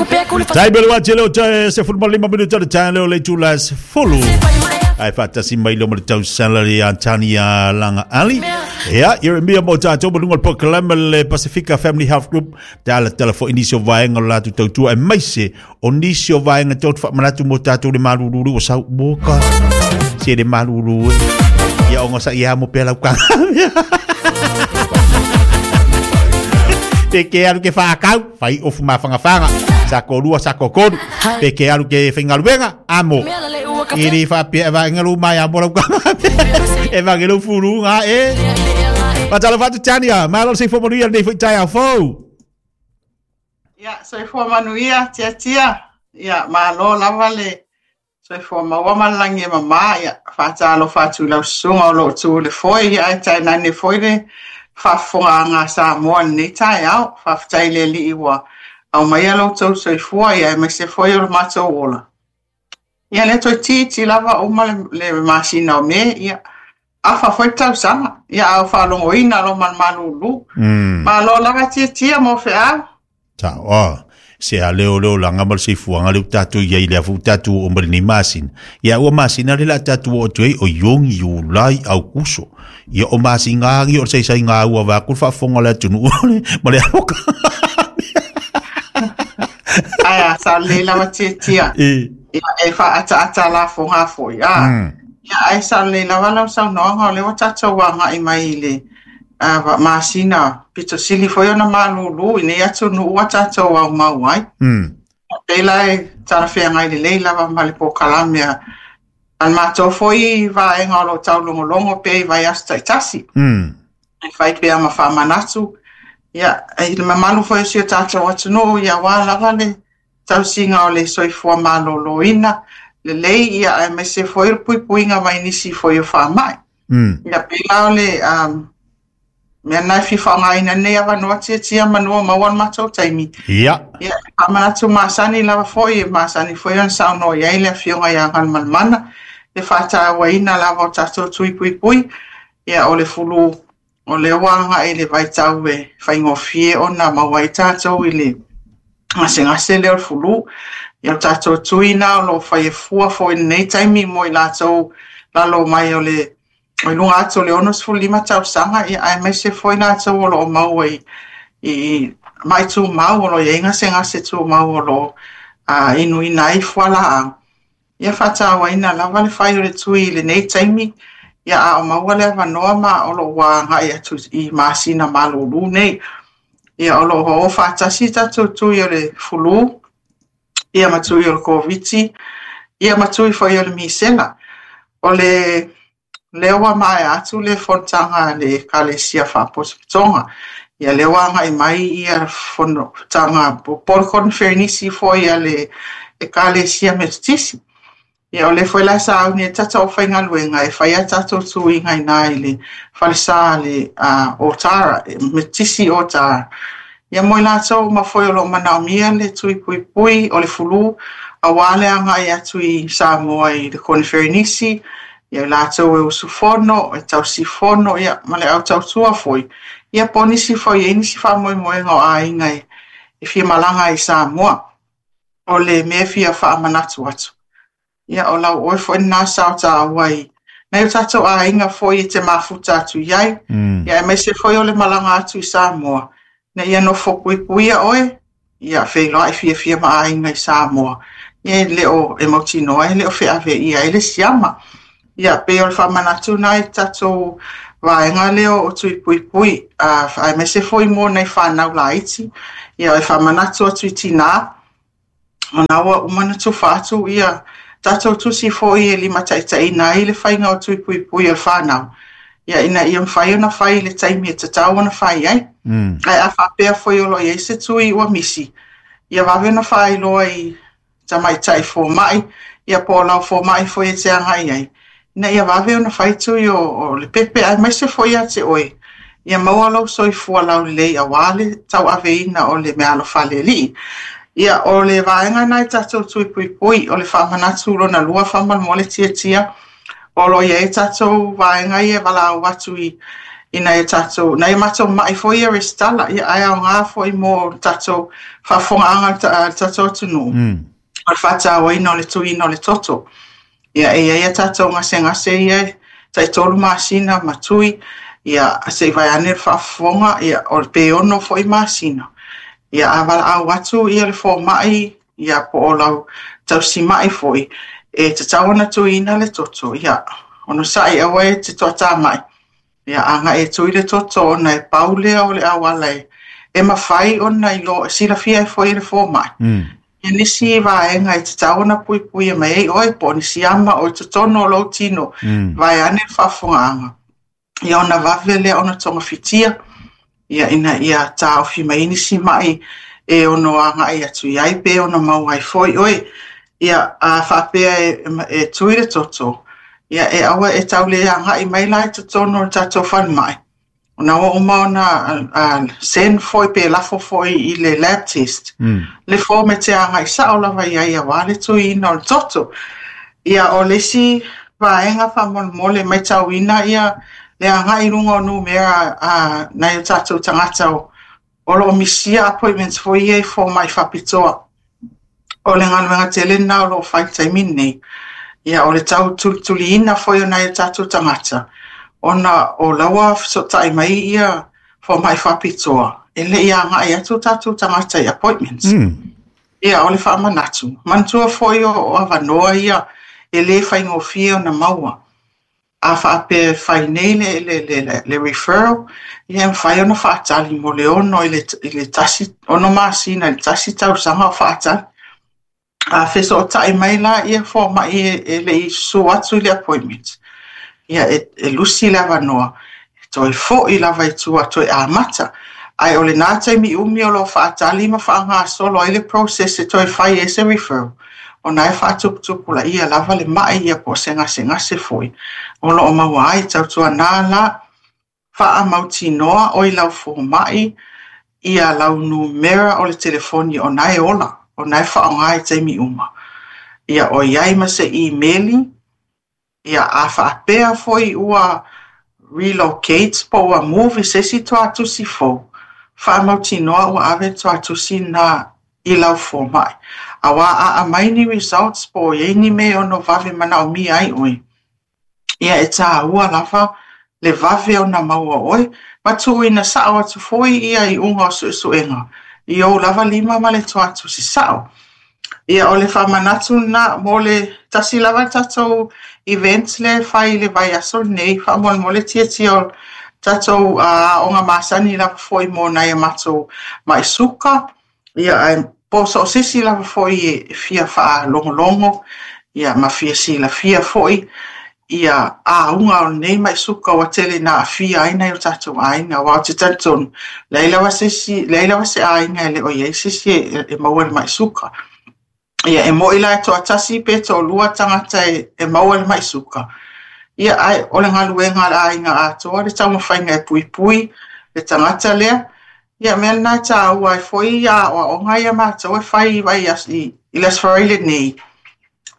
Tai pele wati leo te 15 minuta le tae leo le itula e 10. Ai whaatasi mai leo ma le tausala le Antania Langa Ali. Ia, Ieremia mo tātou ma lunga le polokalame le Pasifika Family Health Group. Tala tala fo nisi o vaega o le latou tautua aemaise o nisi o vaega tou te faamanatu mo tātou le malulu ua sau moka. Se le malulu e. Ia onga sa ia mo pea lau kanga. Te ke alu ke whaakau, whai ofu mawhangawhanga, sa ko rua, sa ko koru, te ke alu ke whaingaluenga, amo. I ri whapea e waengalu mai amo lau kanga. E wangelu furu ngā e. Matalo whatu Tania, malo se fo manuia nei foi tai au fou. Ia, soifua manuia, tiatia. Ia, malo lava le soifua maua ma le lagi e mamā. Ia, faatalofa atu i lau susuga o lo o tu i le foe, ia ae tainane foi le faafofogaaga a Samoa i lenei taeao. Faafetai i le Alii ua aumaia lo outou soifua, ia aemaise foi o le matou ola. Ia, lea toeitiiti lava uma le, le masina o Me, ia, afa foi le tausaga, ia, a o faalogoina lo ma le malūlū. Malo lava tiatia mo feau. Ta, oh, se a leo leo langa ma le soifuaga lea ua tatou i ai i lea foi ua tatou oo mai lenei masina. Ia ua masina lea o le a tatou oo atu ai o Iuni, Iulai, Aukuso. Ia o masina lava ia o le saisaiga ua vaeatu le faafofoga a le atunuu ma le aloka. Ae a, sa lelei lava tiatia. E. Ia, e faaataata lafoga foi, a. Ia, ae sa lelei lava lau saunoaga, o lea ua tatou agai mai i le masina pito sili foi ona malūlū i nei atunuu ua tatou aumau ai. Pei la e talafeagai lelei lava ma le polokalame a le matou foi vaega o lo o taulogologo pea i vaiaso taitasi. E fai pea ma faamanatu, ia, i le mamalu foi o si o tatou atunuu, ia aua lava le tausiga o le soifua maloloina lelei, ia aemaise foi o le puipuiga mai nisi foi o faamai. Ia pei la o le mea lena e fia faaaogaina lenei avanoa tiatia manu o maua le matou taimi. Ia. Ia, e faamanatu masani lava foi, e masani foi ona saunoa i ai le Afioga ia Galumalemana, le faatauaina lava o tatou tui puipui, ia o le fulu o lea ua agai i le vaitau e faigofie ona maua ai tatou i le gasegase lea o le fulu. Ia o tatou tui na o lo o fai e fua foi i lenei taimi mo i latou lalo mai o le o i luga atu o le 65 tausaga, ia aemaise foi latou o lo o maua i mai tumau o lo o i ai gasegase tumau o lo o inuina ai fualaau. Ia faatauaina lava le fai o le tui i lenei taimi, ia a o maua le avanoa ma o lo o ua agai atu i masina malūlū nei. Ia o lo o o faatasi tatou tui o le fulu, ia ma tui o le Koviti, ia ma tui foi o le misela. O le lea ua maea atu le fonotaga a le Ekalesia Faapotopotoga, ia lea ua agai mai ia fonotaga po o le koneferenisi foi a le Ekalesia Metotisi. Ia o lea foi la sauni ai tatou aufaigaluega e fai a tatou tuiga i ina i le falesa a le Otara, Metotisi Otara. Ia mo i latou uma foi o lo o manaomia le tui puipui o le fulu, aua le agai atu i Samoa i le koneferenisi, ia i latou e usufono, e tausifono, ia ma le au tautua foi, ia po o nisi foi e i ai nisi faamoemoega o aiga e fia malaga ai i Samoa. O le mea e fia faamanatu atu, ia o lau oe foi lena sao taua i nai o tatou aiga foi e te mafuta atu i ai, ia aemaise foi o le malaga atu i Samoa, ina ia nofo puipuia oe, ia feiloai fiafia ma aiga i Samoa, ia e le o e mautinoa e le o feave ia ai le siama. Ia pei o le faamanatu lena i tatou vaega lea o tui puipui, aemaise foi mo nai fanau laiti, ia e faamanatu atu i tinā, ona ua uma ona tufa atu ia tatou tusi foi e limataitaiina ai le faiga o tui puipui o le fanau, ia ina ia mafai ona fai i le taimi e tatau ona fai ai. Ae a faapea foi o lo o i ai se tui ua misi, ia vave ona faailoa i tamaitai fomai, ia po o lau fomai foi e te agai ai, ina ia vave ona fai tui o le pepe, aemaise foi ia te oe, ia maua lou soifua laulelei aua le tauaveina o le meaalofa a le Alii. Ia, o le vaega lena i tatou tui puipui, o le faamanatu lona lua faamolemole tiatia, o lo o i ai tatou vaega ia e valaau atu i I nai o tatou, nai o matou ma'i foi ia resitala, ia ae aoga foi mo le tatou faafofogaaga a le tatou atunuu. O le faatauaina o le tuiina o le toto. Ia e i ai a tatou gasegase ia e tai 3 masina ma tui, ia se i vaeane le faafofoga, ia o pe 6 foi masina. Ia a valaau atu ia le fomai, ia po o lau tausimai foi, e tatau ona tuiina le toto, ia onosai aua e te toatamai, ia agai e tui le toto ona e pau lea o le auala e mafai ona ilo silafia ai foi e le fomai. Ia nisi vaega e tatau ona puipuia mai ai oe po o nisi ama o i totonu o lou tino, vaeane le faafofogaaga. Ia ona vave lea ona togafitia, ia ina ia taofi mai ai nisi mai e ono agai atu i ai pe ono maua ai foi oe. Ia a faapea e tui le toto, ia e aua e tau le agai mai la i totonu o le tatou falemai. Ona ua uma ona send foi pe lafo foi i le lab test. Le form e te agai sao lava i ai auā le tuiina o le toto. Ia o le isi vaega faamolemole matauina ia le agai i luga o numera a nai o tatou tagata o loo misia appointments foi ia i fomai faapitoa. O le galuega tele lena o loo fai i le taimi lenei. Ia o le tau tulituliina foi o nai o tatou tagata, ona o laua fesootai mai ia fomai faapitoa, e le i agai atu o tatou tagata i appointments. Ia o le faamanatu, manatua foi o avanoa ia e le faigofie ona maua. A faapea e fai nei le referral, ia e mafai ona faatali mo le 6 i le 1, 6 masina i le 1 tausaga o faatali. A fesootai mai la ia fomai e le i susu atu i le appointment, ia e lusi le avanoa, e toe foi lava i tua toe amata. Ae o lena taimi umi o loo faatali ma faagasolo ai le process e toe fai ai se referral, ona e faatuputupulaia lava le mai ia po o se gasegase foi o loo maua ai. Tautuana la faamautinoa o i lau fomai ia lau numera o le telefoni ona e ola, ona e faaaoga i taimi uma. Ia o i ai ma se email, ia a faapea foi ua relocate po ua move i se isi tuatusi fou, faamautinoa ua ave tuatusi na i lau fomai. Auā a aumai ni results po o i ai ni mea e ono vave manaomia ai oe, ia e tāua lava le vave ona maua oe, ma tuuina sao atu foi ia iuga o suesuega i ou lava lima ma le tuatusi sao. Ia o le faamanatu lena mo le tasi lava le tatou event lea e fai i le vaiaso lenei, faamolemole tiatia o tatou aoga masani lava foi mo nai a matou mai suka, ia ae po so o se isi lava foi e fia faalogologo, ia ma fia silafia foi ia auga o lenei mai suka ua tele na aafia ai nai o tatou aiga. Auā ou te talitonu, leai lava se isi, leai lava se aiga e le o i ai se isi e maua i le mai suka. Ia e moi la e toatasi pe toalua tagata e maua i le mai suka. Ia ae o le galuega a le aiga atoa le taumafaiga e puipui le tagata lea. Ia mea lena e tāua ai foi ia aoaoga ia matou e fai i vaiaso i le Aso Faraile nei.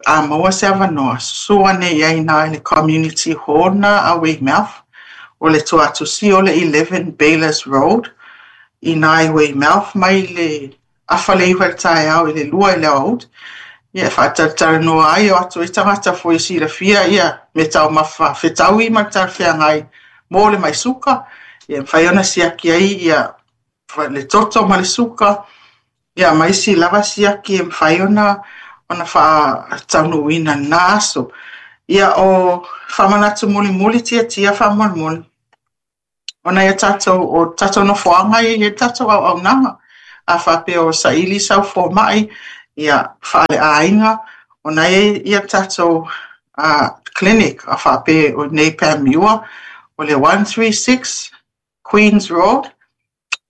A maua se avanoa, susu ane i ai i le community hall na a Weymouth, o le tuatusi o le 11 Baylors Road, i nā i Weymouth mai le 8:30 i le taeao i le 2 i le aoauli. Ia e faatalatalanoa ai o atu ai tagata foi e silafia ia me taumafa fetaui ma le talafeagai mo le mai suka. Ia e mafai ona siaki ai ia le toto ma le suka, ia ma isi lava siaki e mafai ona faataunuuina lena aso. Ia o faamanatu mulimuli tiatia faamolemole, ona ia tatou o tatou nofoaga ia i ai le tatou auaunaga. A faapea o saili sau fomai, ia faaleaiga, ona e ia tatou clinic a faapea o nei Panmure, o le 136 Queens Road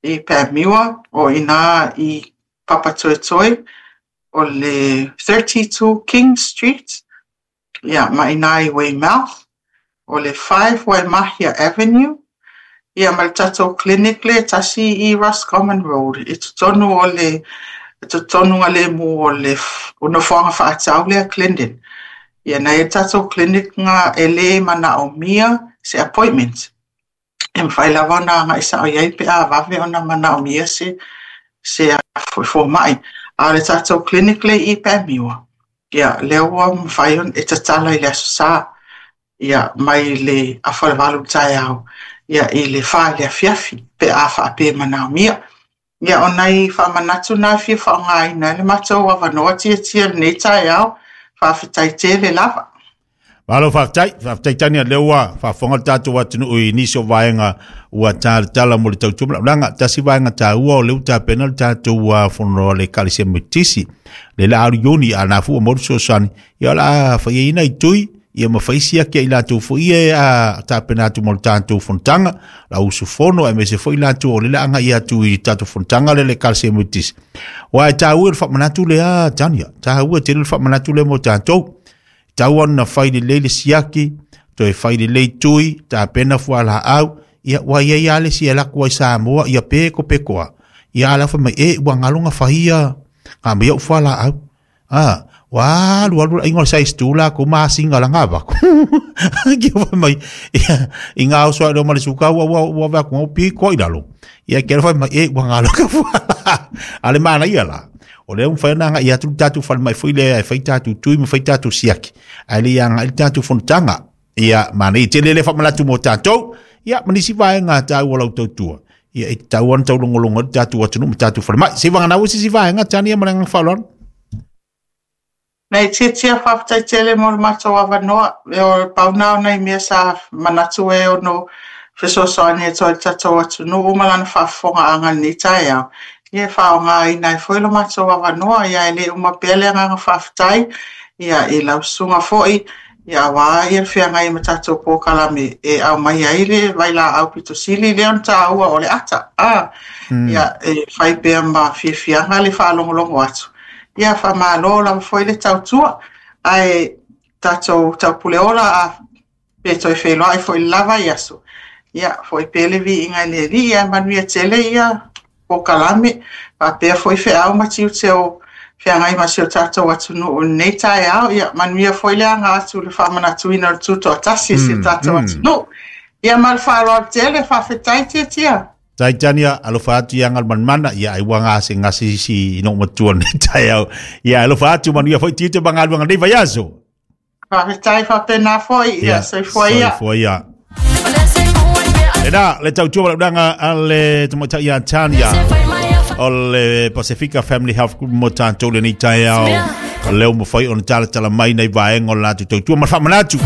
i Panmure, o ina i Papatoetoe, o le 32 King Street, ia ma ina i Weymouth, o le 5 Waimahia Avenue, ia ma le tatou clinic le tasi i Roscommon Road, i totonu o le totonu lemu o le o nofoaga faatau lea Clendon. Ia na e tatou clinic nga e le manaomia se appointment. E mafai lava ona agai sao i ai pe a vave ona manaomia se fomai. A o le tatou clinic lea i Pameua, ia lea ua mafai ona e tatala i le Aso Sa, ia mai le 7:30 i le taeao ia i le 4 i le afiafi pe a faapea e manaomia. Ia o nai faamanatu na e fia faaaogaina ai le matou avanoa Tiatia i lenei taeao. Faafetai tele lava. Malo faafetai, faafetai Tania, lea ua faafofoga le tatou atunuu i nisi o vaega ua talatala mo le tautua ma laulaga. Tasi vaega taua o lea ua tapena le tatou fono a le Ekalesia Metotisi, le la alu Iuni, a na fua mo le fesoasoani, ia o le a faiaina i tui, ia ma fai siaki ai latou foi ia a tapena atu mo le tatou fonotaga, la usufono aemaise foi latou o lea o le a agai atu i tatou fonotaga lea le Ekalesia Metotisi. Aua e taua le faamanatu lea Tania, taua tele le faamanatu lea mo tatou. Tau ona fai lelei le siaki, toe fai lelei tui, tapena fualaau, ia ua iai lava le isi e alu atu ai Samoa, ia peko peko a. Ia a la fai mai, e ua galo na faia, na aumai au fualaau. A, ua alu alu le aiga o le size 2 latou masina la na avatu. Ki fai mai, ia, i ngā oso ai ma le suka ua ua ua vea ku piko i lalo. Ia ke fai mai, e ua galo ka fualaau. A le manaia la. O lea ua mafai ona agai atu le tatou falemai foi lea e fai tatou tui ma fai tatou siaki, ae le i agai le tatou fonotaga. Ia, manaia tele le faamanatu mo tatou, ia, ma nisi vaega taua o lau tautua. Ia, e tatau ona taulogologo ai le tatou atunuu ma tatou falemai. Se i vagana se isi vaega, Tania, ma le agaga faaaloalo. Nei Tiatia, faafetai tele mo le matou avanoa. E o pau na o nai mea sa manatu e ono fesoasoani atu ai le tatou atunuu ma lana faafofogaaga i lenei taeao. Ia e faaaogaina ai foi lo matou avanoa, ia e le uma pea le agaga faafetai ia i lau susuga foi, ia aua ia le feagai ma tatou polokalame e aumai ai le vailaau pito sili lea ona taua o le ata. Ia e fai pea ma fiafiaga le faalogologo atu. Ia faamalo lava foi le tautua, ae tatou taupuleola a pe toe feiloai foi i le lava i aso. Ia foi pea le viiga i le Alii, ae manuia tele ia polokalame, faapea foi feau ma tiute o feagai ma si o tatou atunuu i lenei taeao. Ia manuia foi le aga atu i le faamanatuina o le tutoatasi i si o tatou atunuu. Ia ma le faaaloalo tele, faafetai Tiatia. Tai Tania, alofa atu ia Galumalemana, ia ai ua gase gase isi i noo matua nei taeao. Ia alofa atu manuia foi tiute ma galuega nei vaiaso. Faafetai faapena foi, ia soifua ia. Soifua ia. Lena, le tautua malaulaga a le tamaitai ia Tania o le Pasifika Family Health Group mo tatou lenei taeao. O lea ua mafai ona talatala mai nai vaega o le latou tautua ma le faamanatu.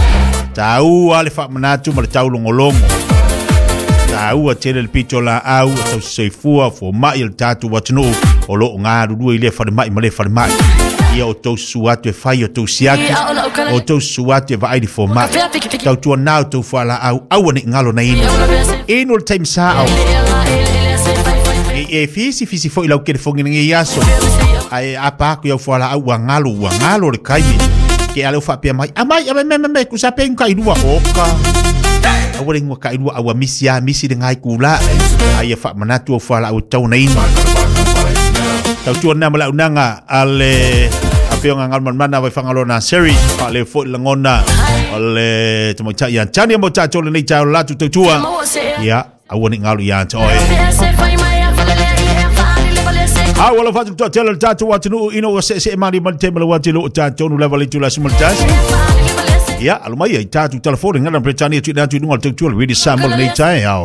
Taua le faamanatu ma le taulogologo. Taua tele le pito laau, o tausisoifua, fomai o le tatou atunuu o lo o galulue i lea falemai ma lea falemai. Ia outou susu atu e fai o tou siaki, o tou susu atu e vaai le fomai. Tautua nā o tou fualaau, aua ne i galo na inu. Inu le taimi sao. E fisi fisi foi lau telefoni lenei aso. Ae apa aku iau fualaau ua galo, ua galo le taimi. Ke ale o faapea mai, amai, amai, me, me, me, kusa pe ka ilua. Oka. Aua le ingoa ka ilua, aua misi a, misi le ngai kula. Ai e faamanatu au fualaau e tau na inu. Tautua na ma le aunaga a le afioga Galumalemana Vaifagaloa Naseri, faale foi lagona o le tamaitai ia Tania mo tatou lenei taeao le latou tautua. Ia, aua ne i galo ia te oe. A ua alofa atu le toatele o le tatou atunuu ina ua seesee malie mai le tema le uati lo o tatou nu lava le itula 11. Ia, alo mai ai tatou telefoni ngana Britania tuina atu i luga o le tautua le Radio Samoa lenei taeao.